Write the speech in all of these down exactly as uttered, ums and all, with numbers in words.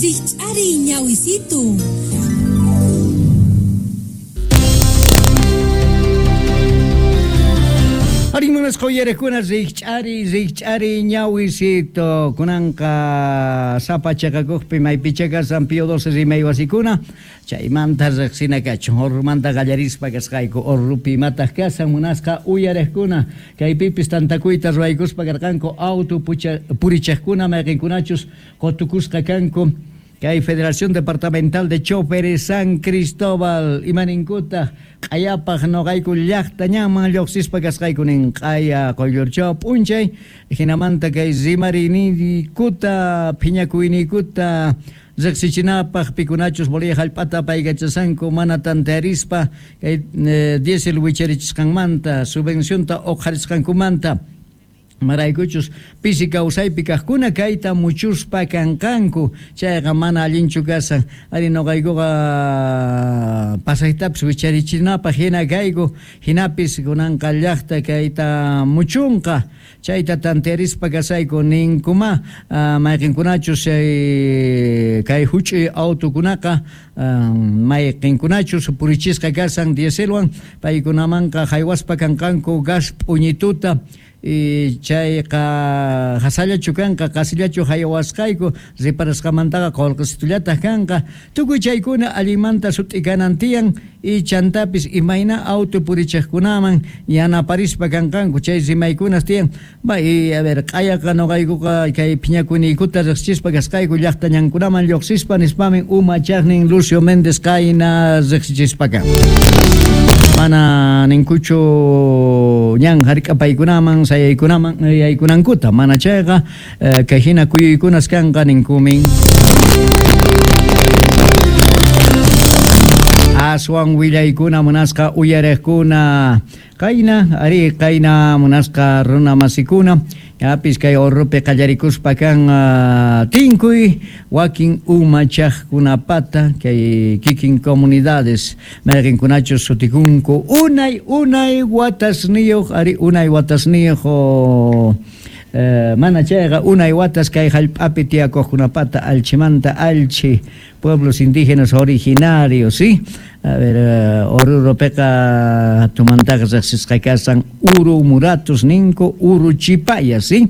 Rikch'ariy ñawisitu. Arí munasqa uyarijkuna rikch'ari rikch'ari ñawisito kunanqa sapa chaqakuqpi maypicha kasan Pío doce rimay wasikuna chaymanta riqsina kachun Orrumanta qallarispa kasqayku Orrupi imataq kasan munasqa uyarijkuna kaypipis tantakuyta ruwaykuspa karqanku auto purichaqkuna mayqinkunachus qutukusqa kanku kay Federación Departamental de Choferes San Cristóbal imaninkuta q'ayapaq noqayku llaqta ñanman lluqsispa kasqayku nin q'aya quyllurchaw p'unchay hinamanta kay rimariniykuta phiñakuyniykuta riqsichinapaq pikunachus Bolivia hallp'ata paykachasanku mana tantearispa kay eh, diésel wicharichisqanmanta subvencionta uqharisqankumanta maraykuchus pisi kawsaypi kaqkuna kayta muchuspa kanqanku chayqa mana allinchu kasan ari noqaykuqa pasaytapis wicharichinapaq hina kayku hinapis kunanqa llaqta kayta muchunqa chayta tantearispa kasayku ninkuma mayqinkunachus kay huch'uy autokunaqa mayqinkunachus purichisqa kasan dieselwan paykunamanqa haywaspa kanqanku gas p'uñituta y chayqa hasallachu kanqa qasillachu haywasqayku riparasqamantaqa qullqisitullataq kanqa tukuy chaykuna allinmanta sut'ikanan tiyan y chantapis imayna auto purichaqkunaman yanaparispa kanqanku chay rimaykunas tiyan bay a ver q'ayaqa noqaykuqa kay phiñakuyniykuta riqsichispa kasqayku llaqta ñankunaman lluqsispa nispamin umachaqnin Lucio Méndez qayna riqsichispa kan mana ninkuchu ñan hark'apaykunaman sayaykunaman yaykunankuta mana chayqa kay hina kuyuykunas kanqa ninkumin aswan willaykuna munasqa uyariqkuna qayna ari qayna munasqa runa masikuna yapis kay Orrupi qallarikuspa kan uh, tinkuy wakin umachaqkunapata kay kikin comunidades mayqinkunachus sutikunku unay unay watasniyuq ari unay watasniyuq eh, mana chayqa unay watas kay hallp'api tiyakuqkunapata alchimanta alchi pueblos indígenas originarios, ¿sí? A ver, uh, Oruropeqa tumantaqa riqsisqa kasan Uru Muratus ninku Uruchipaya, ¿sí?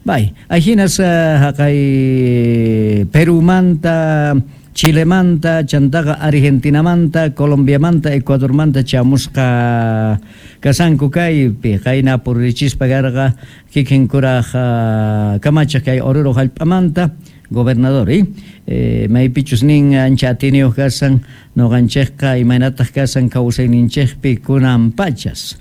Bay, ahinas haqay uh, Perumanta, Chilemanta, chantaqa Argentinamanta, Colombiamanta, Ecuadormanta chamusqa kasanku kaypi qayna purichispa karqa kikin kuraj uh, kamachaq kay Oruro hallp'amanta gobernador, ¿eh? Eh, maypichus nin ancha atiniyuq kasan noqanchikqa imaynataq kasan kawsayninchikpi kunan pachas.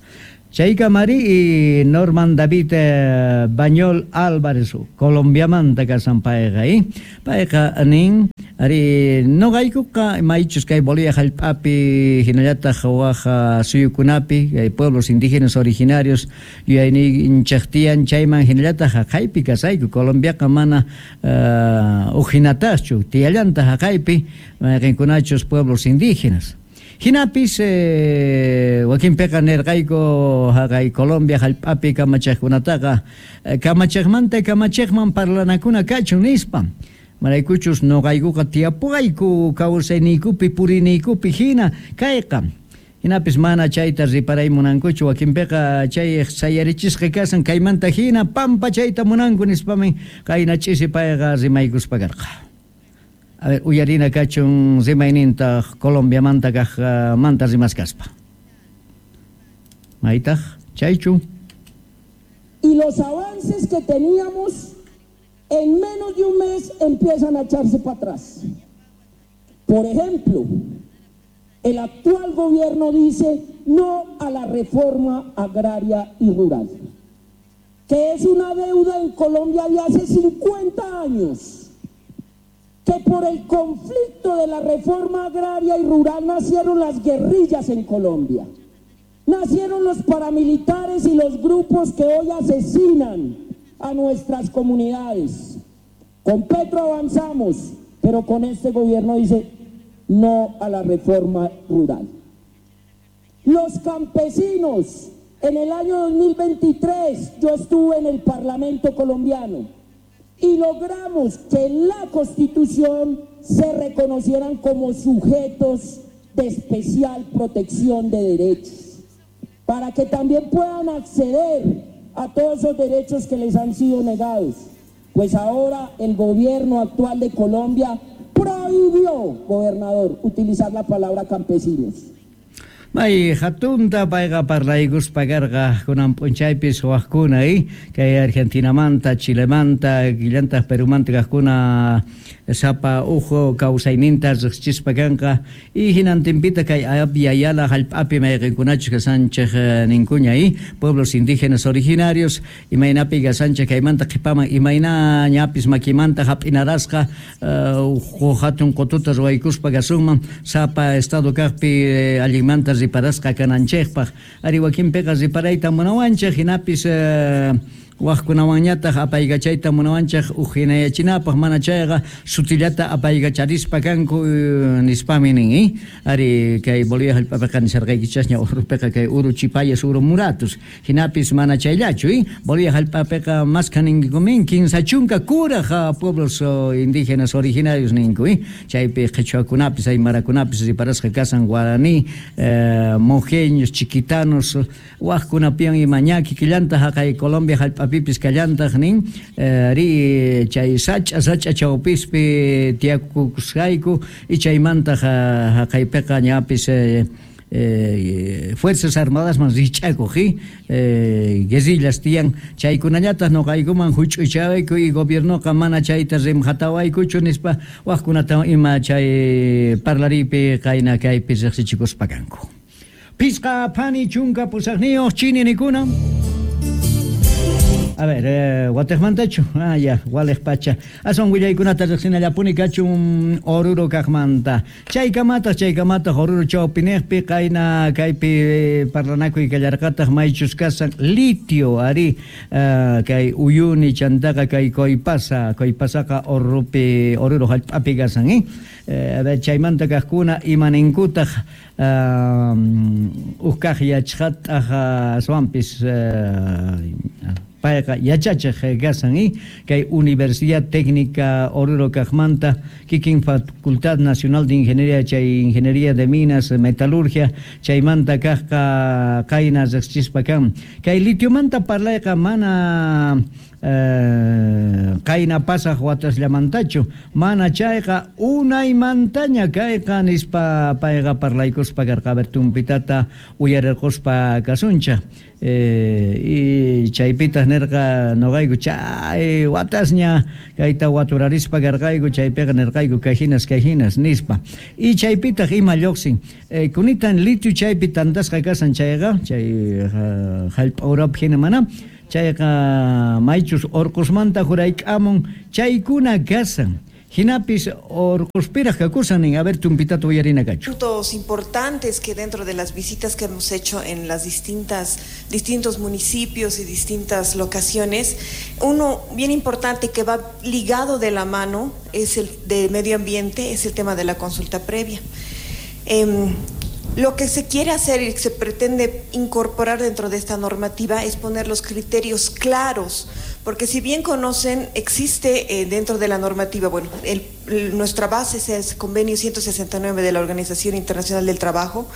Chaykamari y Norman David eh, Bañol Álvarez Colombiamanta kasan payqa, ¿eh? Payqa nin ari noqaykuqa maychus kay Bolivia hallp'api hinallataq waj suyukunapi kay pueblos indígenas originarios yuyayninchik tiyan chayman hinallataq haqaypi kasayku Colombiaqa mana uh, ujinataqchu tiyallantaq haqaypi mayqinkunachus pueblos indígenas. Hinapis eh, wakinpiqa nirqayku haqay Colombia hallp'api kamachaqkunataqa kamachaqmanta kamachaqman parlanakuna kachun nispa maraykuchus noqaykuqa tiyapuqayku kawsayniykupi puriniykupi hina kayqa hinapis mana chayta riparay munankuchu wakinpiqa chay sayarichisqa kasan kaymanta hina pampa chayta munanku nispamin qayna ch'isi payqa rimaykuspa karqa. A ver, uyarina kachun rimayninta Colombiamanta kaq manta rimaskaspa. Maytaq, chaychu. Y los avances que teníamos en menos de un mes empiezan a echarse para atrás. Por ejemplo, el actual gobierno dice no a la reforma agraria y rural, que es una deuda en Colombia de hace cincuenta años. Que por el conflicto de la reforma agraria y rural nacieron las guerrillas en Colombia, nacieron los paramilitares y los grupos que hoy asesinan a nuestras comunidades. Con Petro avanzamos, pero con este gobierno dice no a la reforma rural. Los campesinos, en el año dos mil veintitrés yo estuve en el Parlamento colombiano Y logramos que en la Constitución se reconocieran como sujetos de especial protección de derechos, para que también puedan acceder a todos esos derechos que les han sido negados. Pues ahora el gobierno actual de Colombia prohibió, gobernador, utilizar la palabra campesinos. May hatunta payqa parlaykuspa karqa kunan p'unchaypis wajkuna eh? Kay Argentinamanta, Chilemanta, killantaq Perumanta kaqkuna sapa uhu kawsayninta riqsichispa kanqa y hinantinpita kay Abya Yala hallp'api mayqinkunachus kasanchik ninkuña eh? Pueblos indígenas originarios imaynapi kasanchik kaymanta qhipaman imayna ñapis makimanta hap'inarasqa uh, hatun qututa ruwaykuspa kasunman sapa estado kaqpi eh, allinmanta riparasqa kananchikpaq ari wakinpiqa riparayta munawanchik hinapis eh, wajkunawanñataq apaykachayta munawanchik uqhinayachinapaq mana chayqa sutillata apaykacharispa kanku nispami nin eh? Ari kay Bolivia hallp'apiqa nisharqaykichasña Oruropiqa kay uru chipayas uru muratus hinapis mana chayllachu eh? Bolivia hallp'apiqa maskha ninkumin kinsa chunka kuraj pueblos indígenas originarios ninku eh? Chaypi qhichwakunapis aymarakunapis riparasqa kasan guaraní eh, mojeños chiquitanos wajkunapiwan ima ña kikillanta haqay Colombia hallp'api pipis kallantaq nin ri chay sach'a sach'a chawpispi tiyakusqayku y chaymantaq haqaypiqa ñapis eh, eh, Fuerzas Armadas man rich'akuq eh, guerrillas tiyan chaykunallataq nuqaykuman huch'uychawayku y gobiernoqa mana chayta rimhatawaykuchu nispa wajkunata ima chay parlariypi qayna kaypi riqsichikuspa kanku. Pisqa phani chunka pusaqniyuq chini nikuna. A ver, eh, watejmantachu, ah, ya, waleq pacha. Aswan willaykunata riqsinallapuni kachun Oruro kaqmanta. Chaykamataq, chaykamataq Oruro chawpinejpi qayna kaypi parlanakuy kallarqataq maychus kasan litio ari uh, kay Uyuni chantaqa kay Coipasa, Coipasaqa Oruropi, Oruro hallp'api kasan, eh? Eh, a ver, chaymanta kaqkuna imaninkutaq uh, uj kaq yachqataq aswanpis uh, payqa yachachiq kasan eh? Kay Universidad Técnica Oruro kaqmanta kikin Facultad Nacional de Ingeniería chay Ingeniería de Minas Metalurgia chaymanta kaqqa qayna riqsichispa kan kay litiomanta parlayqa mana eh, qayna pasaq watasllamantachu mana chayqa unaymantaña kayqa nispa payqa parlaykuspa karqa. A ver, tumpitata uyarirquspa kasuncha eh, y chaypitaq nirqa nuqayku chay watasña kayta waturarispa karqayku chaypiqa nirqayku kayhinas kayhinas nispa y chaypitaq ima lluqsin eh, kunitan litio chaypi tantasqa kasan chayqa chay uh, hallp'a urapi hina mana chayqa maychus orqosmanta jurayk'amun chaykuna kasan hinapis orqospiraq kakusan nin. A ver, tumpitata uyarina kachu. Puntos importantes que dentro de las visitas que hemos hecho en las distintas distintos municipios y distintas locaciones, uno bien importante que va ligado de la mano es el de medio ambiente, es el tema de la consulta previa. Eh, Lo que se quiere hacer y se pretende incorporar dentro de esta normativa es poner los criterios claros, porque si bien conocen, existe eh, dentro de la normativa, bueno, el, el, nuestra base es el convenio ciento sesenta y nueve de la Organización Internacional del Trabajo,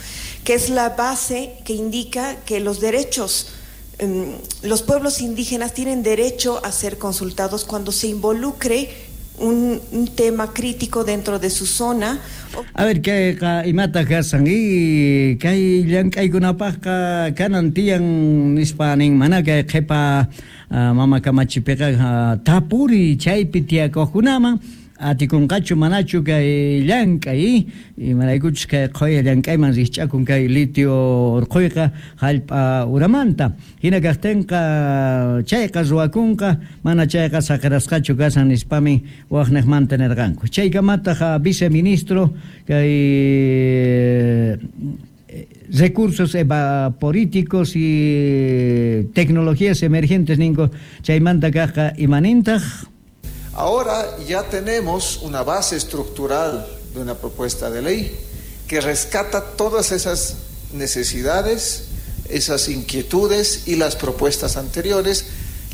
que es la base que indica que los derechos, eh, los pueblos indígenas tienen derecho a ser consultados cuando se involucre un, un tema crítico dentro de su zona. A ver, kay imata kasan y kay llank'aykunapaqqa kanan tiyan nispa nin mana kay qhipa uh, mama kamachipiqa uh, tapuri chaypi tiyakuqkunaman atikunqachu manachu kay llank'ay imaraykuchus kay qhuya llank'ayman rikch'akun kay litio urquyqa hallp'a uramanta hina kaqtinqa chayqa ruwakunqa mana chayqa saqirasqachu kasan nispami waqniqmanta nirqanku. Chaykamataq viceministro kay recursos evaporíticos y tecnologías emergentes ninko chaymanta kaqqa imanintaq. Ahora ya tenemos una base estructural de una propuesta de ley que rescata todas esas necesidades, esas inquietudes y las propuestas anteriores,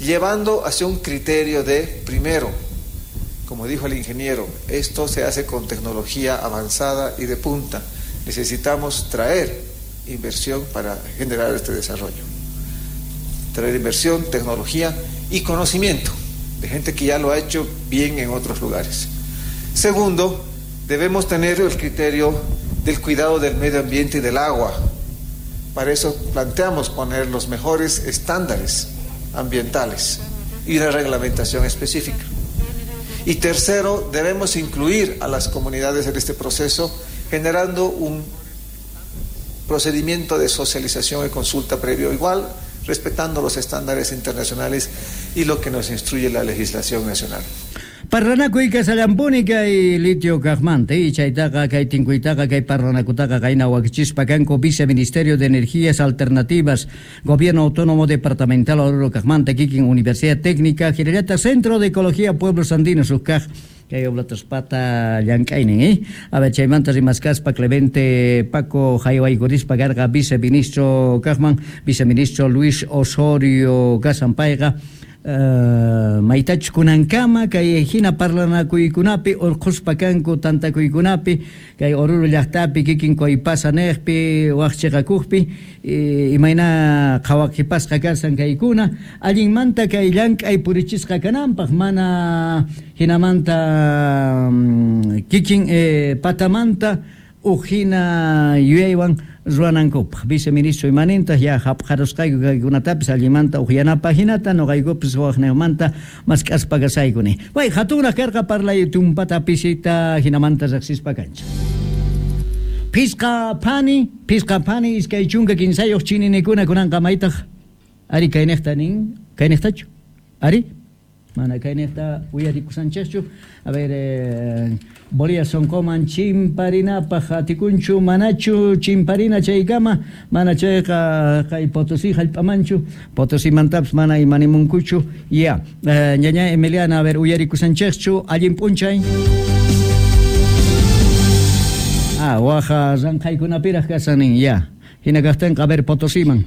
Llevando hacia un criterio de, primero, como dijo el ingeniero, esto se hace con tecnología avanzada y de punta. Necesitamos traer inversión para generar este desarrollo. Traer inversión, tecnología y conocimiento de gente que ya lo ha hecho bien en otros lugares. Segundo, debemos tener el criterio del cuidado del medio ambiente y del agua. Para eso planteamos poner los mejores estándares ambientales y la reglamentación específica. Y tercero, debemos incluir a las comunidades en este proceso, generando un procedimiento de socialización y consulta previo igual, respetando los estándares internacionales y lo que nos instruye la legislación nacional. Parlanakuy kasallampuni kay litio kajmanta y chaytaqa kay tinkuytaqa kay parlanakutaqa kayna wakichispa kanku Viceministerio de Energías Alternativas, Gobierno Autónomo Departamental Oruro kajmanta kikin Universidad Técnica, hinallataq Centro de Ecología Pueblos Andinos ukkaj kay oblataspata llank'aynin, eh? A ver, chaymanta rimaskaspa Clemente Paco jaywaykurispa karqa viceministro kajman, viceministro Luis Osorio kasampayqa Uh, maytachus kunankama kay hina parlanakuykunapi urqhuspa kanku tantakuykunapi kay Oruro llaqtapi kikin Coipasa niqpi waq chiqakuqpi imayna qhawaqipasqa kasan kaykuna allinmanta kay llank'ay purichisqa kananpaq mana hinamanta um, kikin eh, patamanta uj hina yuyaywan ruwanankupaq. Viceministro imanintaq ya hapqarusqayku kaykunatapis allimanta uqyanapaq hinata noqaykupis waqnimanta mask'aspa kasaykuni. Way hatunraq karqa parlay tumpata pisita hinamanta riqsispa kanchik. Pisqa phani, pisqa phani iskay chunka kinsayuq chininikuna kunanqa maytaq ari kayniqta nin, kayniqtachu? Ari? Mana kayniqta uyarikusanchikchu. A ver, eh, Bolivia sonqoman chimparinapaq atikunchu manachu chimparina chaykama mana chayqa kay Potosí hallp'amanchu Potosímantapis mana imanimunkuchu ya eh, ñaña Emiliana, a ver, uyarikusanchikchu allin p'unchay. Ah, waja ranqhaykunapiraq kasanin ya hina kaqtinqa a ver Potosíman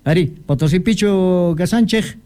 ari Potosípichu kasanchik.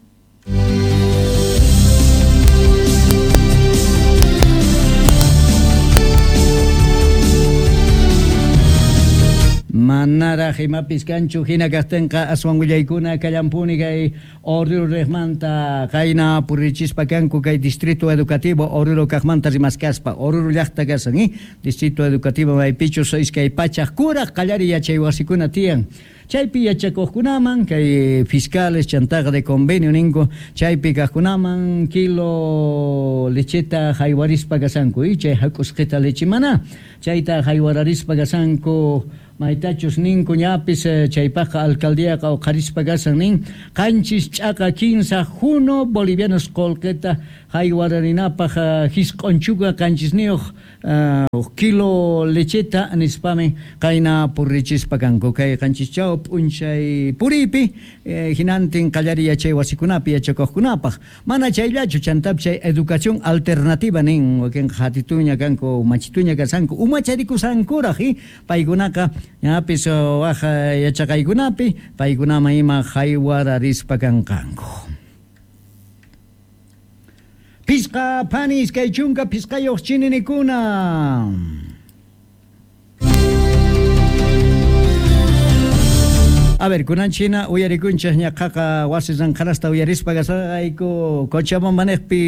Manaraq imapis kanchu hina kaqtinqa aswan willaykuna kallampuni kay Oruro riqmanta qayna purichispa kanku kay Distrito Educativo Oruro kaqmanta rimaskaspa Oruro llaqta kasan eh? Distrito Educativo maypichus iskay pachaq kuraq qallari yachay wasikuna tiyan chaypi yachakuqkunaman kay fiscales chantaqa de convenio ninku chaypi kaqkunaman kilo lecheta haywarispa kasanku y chay hak'usqita leche mana chayta haywararispa kasanku maytachus ninku ñapis chaypaqqa alcaldíaqa uqharispa kasan nin qanchis ch'aqa kinsa juno bolivianos qullqita haywararinapaq hisq'unchuka qanchisniyuq uh, kilo lecheta nispami qayna purrichispa kanku kay qanchischaw p'unchay puripi eh, hinantin qallari yachay wasikunapi yachakuqkunapaq mana chayllachu chantapis chay educación alternativa nin wakinqa hatituña kanku machituña kasanku umacharikusankuraq eh? Paykunaqa ñapis waj yachaqaykunapi paykunaman ima haywararispa kanqanku. Pisqa phani iskay chunka pisqayuq chininikuna. A ver, kunan china uyarikunchik ñaqaqa wasi ranqharasta uyarispa kasarqayku Cochabamba niqpi.